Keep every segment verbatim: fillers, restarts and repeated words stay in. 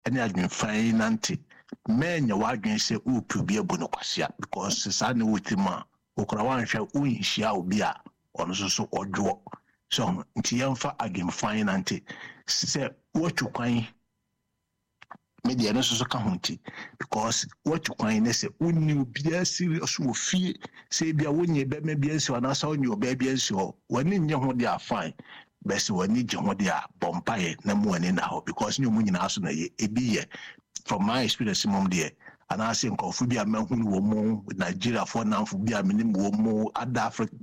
Ɛne adwemfa yi nante. Mɛnyɛ w'adwene sɛ wopɛ obi abu no kwasea, because saa ne wo tirim a wokora woanhwɛ, wonhyia obi a ɔno nso so ɔdwoɔ so. Nti yɛmfa adwemfa yi nante sɛ woatu kwan. Me deɛ, no nso so ka ho. Nti because woatu kwan ne sɛ wonni obiara serious wɔ fie, sɛ ebia wonyɛ bɛrima bi ansi hɔ anaasɛ wonyɛ ɔbaa bi ansi hɔ, w'ani nye ho deɛ a, fine. Bɛsɛ w'ani gye ho deɛ a, bɔ mpaeɛ na mu w'ani na hɔ, because nyɛ ɔmo nyinaa so na yɛ ebi yɛ. From my experience mom deɛ, anaasɛ nkurɔfo bi a mahunu wɔ mu, Nigeriafoɔ namfo bi a menim wɔ mu, ada Africa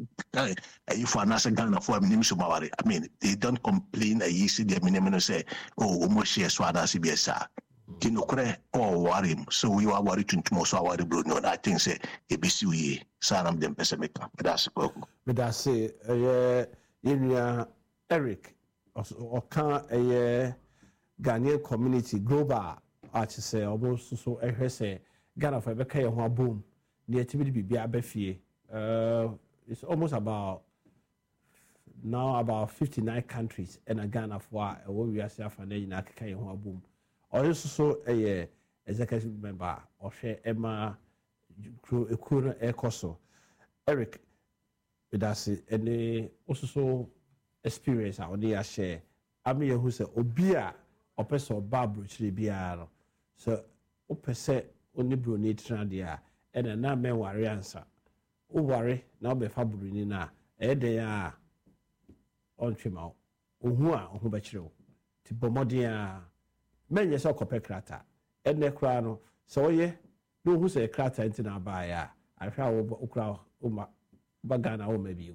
ayifo anaasɛ Ghanafoɔ a menim so maware, I mean, they don't complain. Ayi sɛ deɛ menim no sɛ, oh, ɔmo hyɛ so anaasɛ bi saa. Nti nokorɛ ɔwɔ mu sɛ woyɛ aware tuntum so, aware buroni no, I think sɛ ɛbɛsi wo yie. Saa na mede mpɛ sɛ meka. Meda ase, Kwaku. Meda ase. Ɛyɛ yɛnua Eric, ɔka ɛyɛ Ghanaian Community Global a kyerɛ sɛ ɔmo nso so ɛhwɛ sɛ Ghanafoɔ ɛbɛka yɛn ho abom na yɛtumi de biribi aba fie. It's almost about now about fifty nine countries ɛna Ghanafoɔ a ɛwɔ wiase afa na nyinaa keka yɛn ho abom. Ɔno nso so ɛyɛ executive member a ɔhwɛ ɛma kuro ekuo no ɛkɔ so. Eric, medase ɛne ososo experience a ɔde ahyɛ ama yɛhu sɛ obi a ɔpɛ sɛ ɔba aburokyire biara no, sɛ wopɛ sɛ wone buroni tena deɛ a, ɛna na mɛnware ansa. Woware na wobɛfa buroni no a, ɛyɛ dɛn a ɔntwe ma wo ohu a ɔho bɛkyerɛ wo. Nti bɔ mmɔden a mɛnyɛ sɛ ɔkɔpɛ krataa. Ɛnɛ koraa no, sɛ ɔyɛ na ohu sɛ krataa nti na abaeɛ a, ahwɛ a wokora woma ba Ghana woma bio.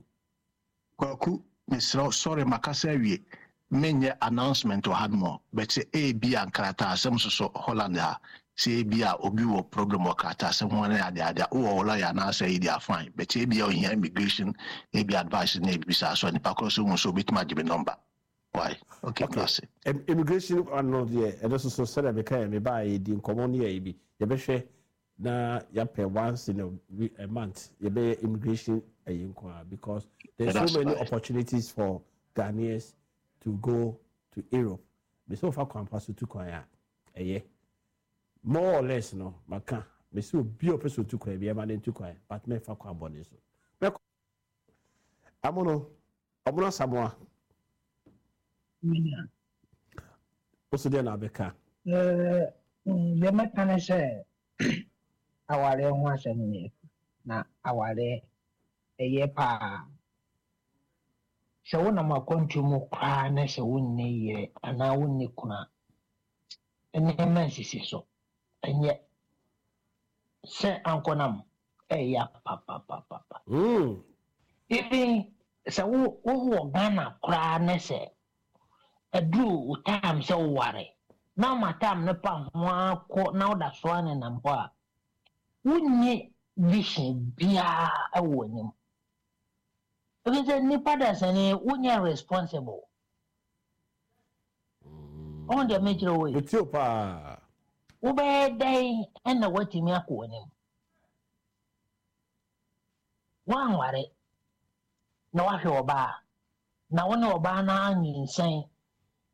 Kwaku, mesrɛ, sorry, makasa awie. Menyɛ announcement wɔ ha no mɔ, but sɛ ebi a nkrataa asɛm soso Holland ha, sɛ ebi a obi wɔ problem wɔ krataa asɛm ho ne ade ade a, wowɔ lawyer anaasɛ yi deɛ, fine. But ebi a ohia immigration ebi advice na ebi saa so, nipa korɔ so hu sɛ obetumi agye me number. Why? Okay, okay. Immigration ano deɛ, ɛno nso so sɛdeɛ meka yɛ mebaa yɛdi nkɔmmɔ no yɛ bi, yɛbɛhwɛ na yɛapɛ once in a, a month yɛbɛyɛ immigration ɛyi nko a, because there's so many opportunities for Ghanaians to go to Europe. Bɛsɛ wofa kwan pa so tu kwan a, ɛyɛ more or less no. Maka mɛsɛ obi a ɔpɛ sɛ otu kwan bi, ɛma ne ntu kwan, but mɛfa kwan bɔne so. Mɛkɔ amono ɔmono Asamoa woso deɛ na abɛka. Deɛ mɛka ne sɛ awareɛ ho asɛm ne na awareɛ ɛyɛ paa. Sɛ wonam akwantu mu koraa na sɛ wonni yere anaa wonni kunu a, nneɛma nsisi so. Ɛnyɛ sɛ ankɔnam ɛyɛ papapapapa. Mm. Even sɛ wo wowɔ Ghana koraa ne sɛ ɛduru wo time sɛ woware na woma time no pa ho akɔ na woda so a nenam hɔ a, wonni vision biara ɛwɔ w'anim, ebi sɛ nipa da sɛne wonyɛ responsible. Ɔn deɛ mekyerɛ wo yi. Metio paa. Wobɛyɛ dɛn ɛna woatumi akɔ w'anim? Woanware na woahwɛ ɔbaa na wo ne ɔbaa no anyinsɛn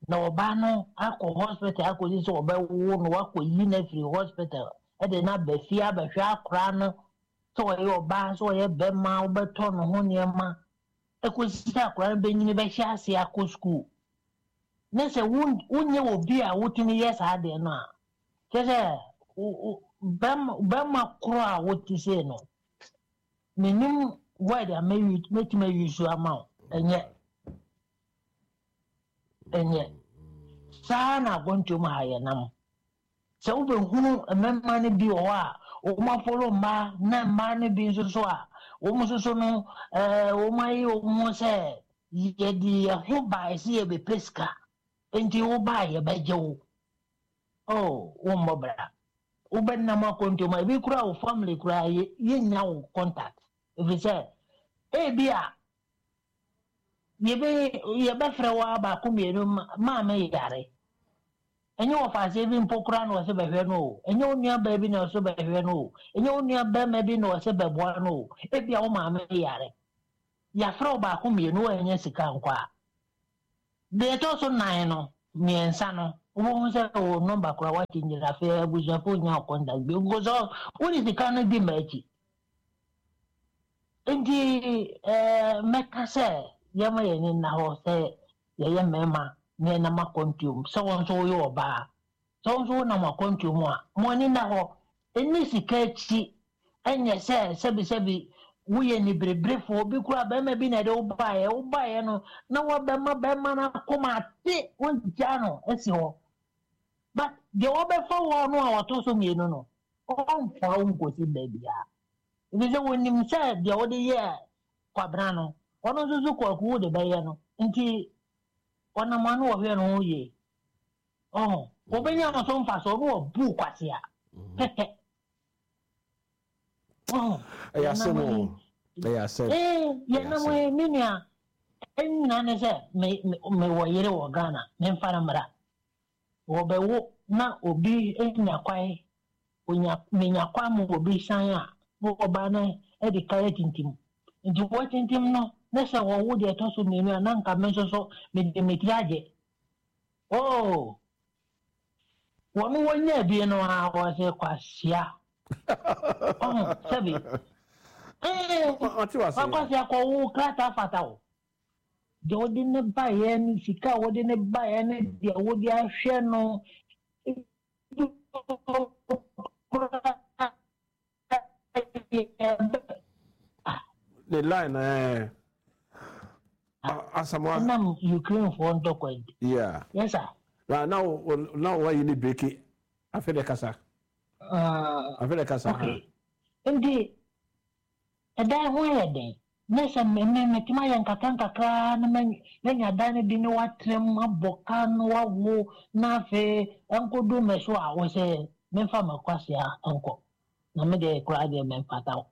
na ɔbaa no akɔ hospital akɔsi sɛ ɔbɛwo no, wakɔyi no afiri hospital, ɛde no aba fie abɛhwɛ akora no, sɛ ɔyɛ ɔbaa, sɛ ɔyɛ bɛrima, wobɛtɔ ne ho nneɛma ɛkɔsi sɛ akora no bɛnyini, bɛhyɛ ase akɔ school, ne sɛ wonyɛ obi a wotumi yɛ saa adeɛ no a, kyerɛ sɛ bɛrima korɔ a wote sei no, menim word a mɛtumi ayi so ama wo. Ɛnyɛ ɛnyɛ saa na akɔntom ha yɛ nam sɛ wobɛhunu mmarima no bi wɔ hɔ a wɔn afɔlɔ mmaa, na mmaa no bi nso so a wɔn nso so no ɛɛ wɔn ayɛ wɔn ho sɛ yɛde yɛn ho baa sɛ yɛbɛpɛ sika, nti wo baa yɛbɛgye wo. Oh, wɔmmɔ bra, wobɛnam akɔntom a, ebi kura wo family kura yɛnnya wo contact, ɛfiri sɛ ebi a yɛbɛ yɛbɛfrɛ wo a, baako mmienu, maame yare, ɛnyɛ wɔfaase bi mpo koraa na ɔsɛ bɛhwɛ no o, ɛnyɛ wo nua baa bi na ɔsɛ bɛhwɛ no o, ɛnyɛ wo nua bɛrima bi na ɔsɛ bɛboa no o. Ebi a wo maame yare, yɛafrɛ wo baako mmienu, wɔnyɛ sika nkɔ a, deɛ ɛtɔ so nan no mmiɛnsa no Wobɛhu sɛ wo number koraa woate nyina afei abusuafoɔ nya wo contact bio because wode sika no di ma akyi. Nti eh, mɛka sɛ yɛma yɛni nna hɔ sɛ yɛyɛ mmarima na yɛnam akwantuom sɛ wo nso woyɛ ɔbaa sɛ wo nso wonam akwantuom a mo ani nna hɔ ɛni sika akyi ɛnyɛ sɛ sɛbisɛbi woyɛ nibereberefoɔ obi koraa bɛrima bi na ɛde wo baeɛ wo baeɛ no na wɔbɛma bɛrima no akoma ate wogya no asi hɔ but deɛ wɔbɛfa wɔ no a wɔtɔ so mmienu no ɔmfa wo nkɔsi baabiara ɛfiri sɛ wɔnim sɛ deɛ wode yɛ kwabena no ɔno nso so kwaku wo de bɛyɛ no nti ɔnam ano wɔhwɛ no ho yie ɔho wɔbɛnya no so mfa so ɔno wɔbu kwasea pɛpɛ ɔho Ɛyɛ asɛm o. Ɛyɛ asɛm. Ee, yɛnam yi me nua ɛnyina ne sɛ me me mewɔ yere wɔ Ghana memfa no mmra wɔbɛwo na obi nya kwan onya menya kwan ma obi san a na ɔba no de kare tintim nti wɔtintim no na sɛ wɔwo deɛ ɛtɔ so mmienu a na nka me nso so mede me tiri agye oo wɔn wɔnya abie no a wɔsɛ kwasia ɔho sɛbi ee Ɔte wase. Wakwasia kɔwo krataa fata o deɛ wɔde ne baeɛ ne sika a wɔde ne baeɛ ne deɛ wɔde ahwɛ no The line eh Asamoah. Ɛnam Ukrainefoɔ ntɔkwa nti. Yeah. Yes sir. Na na na wɔyi ne breki afei de kasa. Uh, Afei de kasa. Okay. Nti ɛdan ho yɛ den na sɛ me me metumi ayɛ nkakra nkakra na manya dan no bi ne watena mu abɔ ka no wawo na afei ɛnkɔdu me so a wɔ sɛ memfa m'akwasea nkɔ na me deɛ koraa deɛ memfata wo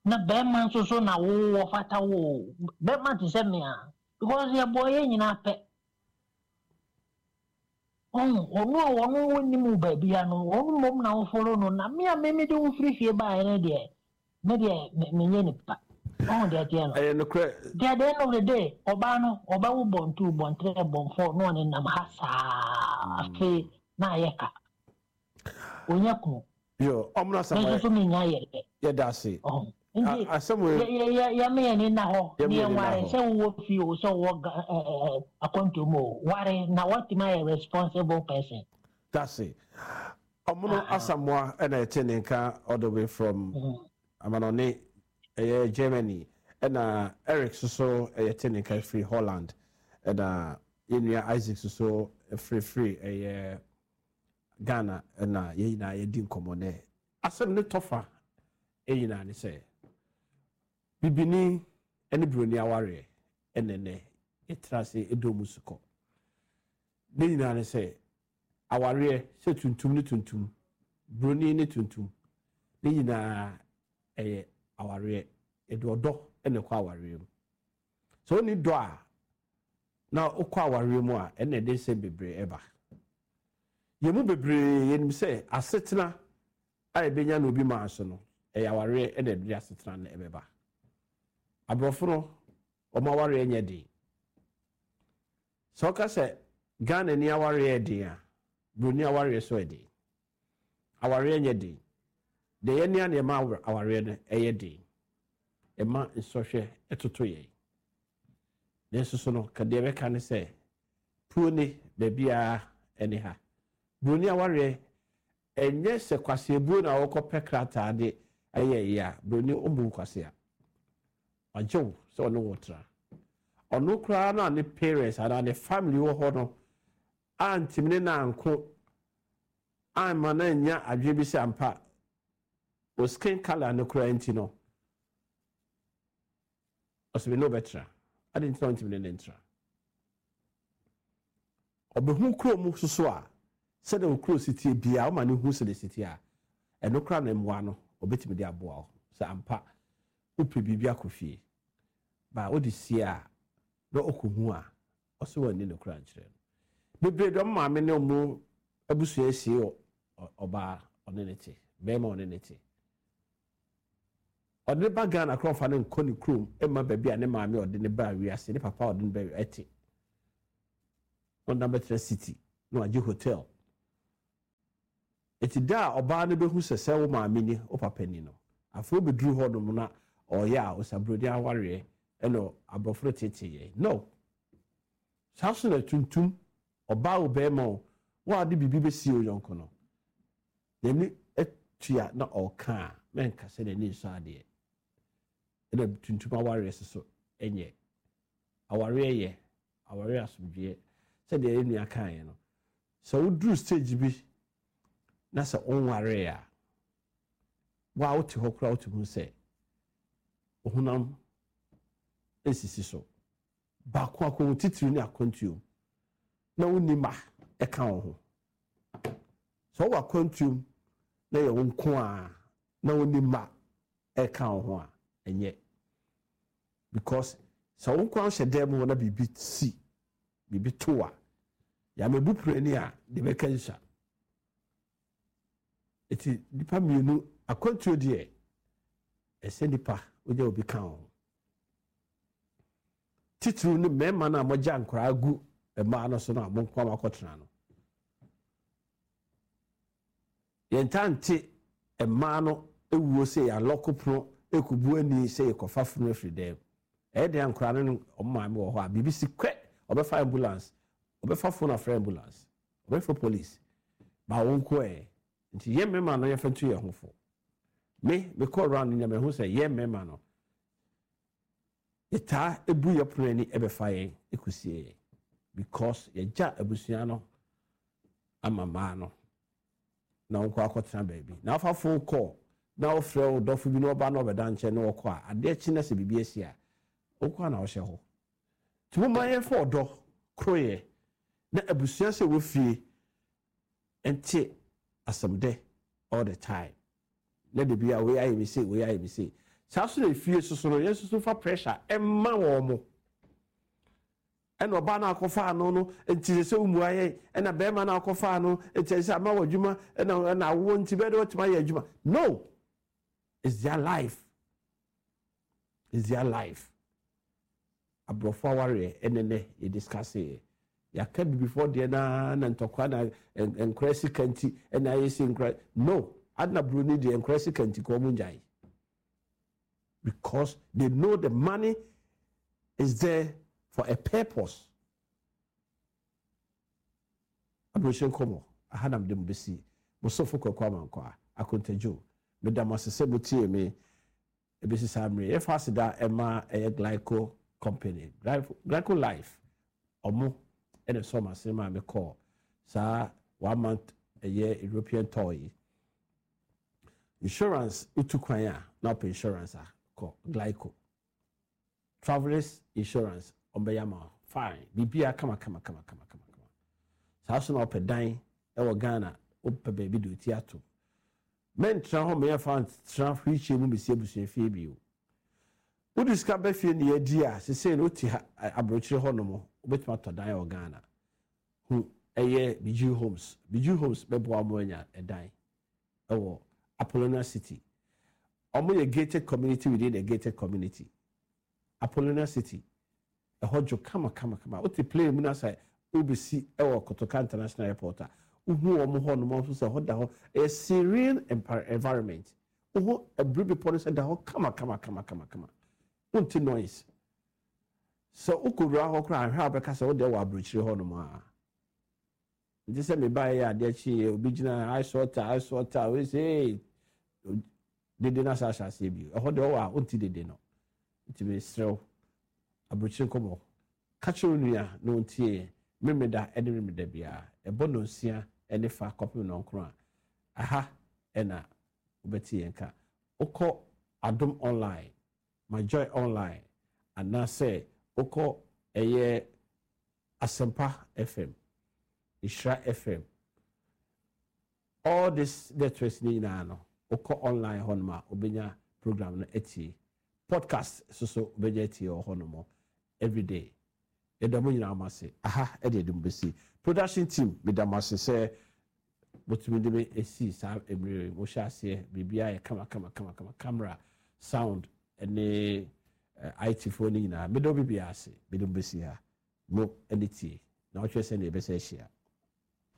na bɛrima nso so na wowɔ fata wo bɛrima te sɛ me a because yɛbɔ yɛn nyinaa pɛ ɔno ɔno a ɔno wɔnim wo baabi a no ɔno mmom na woforo no na me a me mede wo firi fie baeɛ no deɛ me deɛ menyɛ nipa ɔho deɛ teɛ no Ɛyɛ nokorɛ. Nti at the end of the day ɔbaa no ɔbɛwo born two born three born four na ɔne nam ha saa afei na ayɛ ka ɔnyɛ kunu. Yo, ɔmo me Asamoah. nso so menya yɛ Yɛda ase. ɔho nti Asɛm wei. yɛma yɛni nna hɔ Yɛma ne yɛni nna yɛware hɔ. sɛ wowɔ fie o sɛ wowɔ Ga- ɛ, ɛ, akwantuom o ware na woatumi ayɛ responsible person. That's it. Ɔmono Asamoah ɛna ɛte ne nka all the way from amanɔne ɛyɛ Germany ɛna Eric soso ɛyɛ te ne nka firi Holland ɛna yɛnua Isaac soso firifiri ɛyɛ Ghana ɛna yɛn nyinaa yɛdi nkɔmmɔ nɛ asɛm ne tɔfa ɛnyinaa ne sɛ bibini ɛne buroni awareɛ ɛnɛ nɛ yɛtena ase ɛdɔ mu sukɔ ne nyinaa ne sɛ awareɛ sɛ tuntum ne tuntum buroni ne tuntum ne nyinaa ɛyɛ awareɛ yɛde ɔdɔ ɛna ɛkɔ awareɛ mu sɛ wonni dɔ a na wokɔ awareɛ mu a ɛna ɛde nsɛm bebree ɛba yɛn mu bebree yɛnim sɛ asetena a yɛbɛnya na obi maa so no ɛyɛ awareɛ ɛna ɛde asetena no ɛbɛba aborɔfo no wɔn awareɛ nyɛ den sɛ ɔka sɛ Ghana ni awareɛ yɛ den a buroni awareɛ so yɛ den awareɛ nyɛ den deɛ yɛn nea nneɛma awareɛ no ɛyɛ den ɛma nsɔhwɛ ɛtoto yɛn nanso so no ka deɛ bɛka ne sɛ puo ne baabiara ɛne ha buroni awareɛ ɛnyɛ sɛ kwaseabuo na wɔkɔpɛ krataa de ɛyɛ yie a buroni ɔmbu kwasea wagye wo sɛ ɔne wo tra ɔno koraa na ne parents anaa ne family wɔ hɔ no antimi ne nanko amma na nya adwene bi sɛ ampa o skin colour no koraa nti no ɔsɛ me ne wobɛtra ade nti na ɔntimi ne ne ntra ɔbɛhu kuro mu soso a sɛdeɛ wo kuro si tie biara woma ne hu sɛdeɛ si tie a ɛno koraa na mmoa no ɔbɛtumi de aboa wo sɛ ampa wopɛ biribi akɔ fie ba wode sie a na ɔkɔhu a ɔsɛ wɔnni no koraa nkyerɛ no bebree dɔm maame ne ɔmo abusua asie wɔ ɔbaa ɔne ne te bɛrima ɔne ne te ɔde ne ba Ghana koraa ɔfa ne nkɔ ne kurom ɛma baabi a ne maame ɔde ne ba wiase ne papa ɔde ne ba ɛte ɔnam bɛtena city Na wagye hotel. Eti da a ɔbaa no bɛhu sɛ sɛ wo maame ni, wo papa ni no, afei wobɛduru hɔ nom na ɔyɛ a ɔsaburoni awareɛ ɛna aborɔfo no tete yɛ no. Saa so na tuntum ɔbaa wo bɛrima o, wo a de biribi bɛsie wo yɔnko no n'ani atua na ɔka a, mɛnka sɛ n'ani nsɔ adeɛ. Ɛna tuntum awareɛ soso ɛnyɛ awareɛ, yɛ awareɛ asomdwoeɛ. Sɛdeɛ yɛn nua kaeɛ no, sɛ woduru stage bi na sɛ wonwaree a, wa wote hɔ koraa, wote hu sɛ ohunam esisi so baako akɔn titiri ne akwantuom na wonni ma ɛka wo ho. Sɛ wowɔ akwantuom na yɛ wo nko a na wonni ma ɛka wo ho a, ɛnyɛ, because sɛ wo nko ahyɛ dan mu hɔ na biribi si, biribi to a, yàmɛbu pirani a de bɛka nsa. Eti nipa mmienu akwantuo deɛ, ɛsɛ nipa wogya obi ka wo ho, titiriw ne mmarima no a mogya nkwaraa gu mmaa no so no a mo nko a akɔtena no. Yɛnta nte mmaa no ewuo sɛ yɛalɔko pono ekubu ani sɛ yɛkɔfa funu afiri dɛm. Ɛyɛ deɛ nkwaraa no ne ɔmo maame wɔ hɔ a, biribi si kwɛ, ɔbɛfa ambulance, ɔbɛfa phone afrɛ ambulance, ɔbɛfa police ba wɔn nko. Ɛ nti yɛn mmarima no, yɛfɛ nto yɛn ho fo. Me mekɔ round nyɛ mɛho sɛ yɛn mmarima no, yɛtaa ebu yɛ pono ani ɛbɛfa yɛn ekusie yɛn, because yɛgya abusua no ama mmaa no na wɔn kɔ akɔtena baabi na afa phone call na wɔfrɛ wo dɔfo bi na ɔba na ɔbɛda nkyɛn na wɔkɔ a, adeɛ kyi na sɛ biribi asi a, wɔkɔ a na wɔhyɛ hɔ. Nti mo ma yɛmfa ɔdɔ koroyɛ na abusua sɛ wɔ fie nte asɛm dɛ all the time na de bi a wei ayɛ mi se, wei ayɛ mi se. Saa so na efie soso no, yɛn soso fa pressure ɛma wɔn mo, ɛna ɔbaa no akɔfa ano no nti sɛ sɛ womu ayɛ, ɛna bɛrima no akɔfa ano nti sɛ ama wɔ adwuma, ɛna ɛna awoɔ nti bɛyɛ dɛ wɔtumi ayɛ adwuma no. It's their life, it's their life. Aborɔfo awareɛ ɛne nɛ yɛ discuss yɛ, yɛaka bibifoɔ deɛ naa na ntɔkwa na nkora sika nti ɛna ayɛ sɛ nkora no adena. Buroni deɛ, nkora sika nti kɔ ɔmo ngyae, because they know the money is there for a purpose. Aburokyire nkɔmɔ aha nam de mo bɛsi. Mosofo Kɔkɔ Amankɔ a akontagyo, meda mo ase sɛ motie me ebesi saa mmerɛ. Yɛfa aseda ɛma ɛyɛ Glyco Company, Glyco Life. Ɔmo ɛna sɔ ɔmo ase maa me kɔɔ saa one month ɛyɛ European tour yi. Insurance, wotu kwan a na wopɛ insurance a, kɔ Glyco Travelers Insurance, ɔmbɛyɛ ama wo fine, biribiara kama kama kama kama kama kama. Saa so na wopɛ dan ɛwɔ Ghana, wopɛ baabi de oti ato, mɛntena hɔ mɛyɛfa ntena hwehwɛ mu bɛsi abusua fie bio. Wode sika bɛ fie ne yɛdi a, sesei no wote ha aburokyire hɔ nom, wobɛtumi atɔ dan wɔ Ghana hu. Ɛyɛ Biju Homes. Biju Homes bɛboa mo anya ɛdan ɛwɔ Apollonia City. Ɔmo yɛ gated community within a gated community. Apollonia City ɛhɔ dwo kama kama kama. Wote plane mu na sɛ wobɛsi ɛwɔ Kotoka International Airport a, wohu wɔn hɔ nom nso sɛ ɛhɔ da hɔ, ɛyɛ serene environment. Wohu abiri bepɔ no sɛ da hɔ kama kama kama kama kama, wonte noise. Sɛ wokɔwura hɔ koraa ahwɛ a, wobɛka sɛ wode wɔ aburokyire hɔ nom a. Nti sɛ mebaeɛ yɛ adeɛ kyeeɛ, obi gyina ice water, ice water wei sɛ ee dede no asa ahyɛ aseɛ bio. Ɛhɔ deɛ ɔwɔ a, wonte dede no. Nti mesrɛ wo, aburokyire nkɔmmɔ, ka kyerɛ wo nua na ɔntie. Memeda ne memeda biara ɛbɔ nonsia ne fa kɔpem nɔnkron a, aha ɛna wobɛte yɛn ka. Wokɔ Adom Online, My Joy Online, anaasɛ wokɔ ɛyɛ Asɛmpa F M, Nhyira F M, all this networks ne nyinaa no, wokɔ online hɔnom a, wobɛnya program no atie. Podcast soso wobɛnya atie wɔ hɔnom everyday. Yɛda mo nyinaa mo ase. Aha ɛde ɛde mo bɛsi. Production team, meda mo ase sɛ motumi de me esi saa mmerɛ yi. Mohyɛ aseɛ, biribiara yɛ kama kama kama kama. Camera, sound ɛne uh, I T foɔ no nyinaa, meda wo bibiara ase. Mede mo bɛsi ha mo ɛne tie na wɔtwerɛ sɛ ne yɛbɛsɛ ahyia.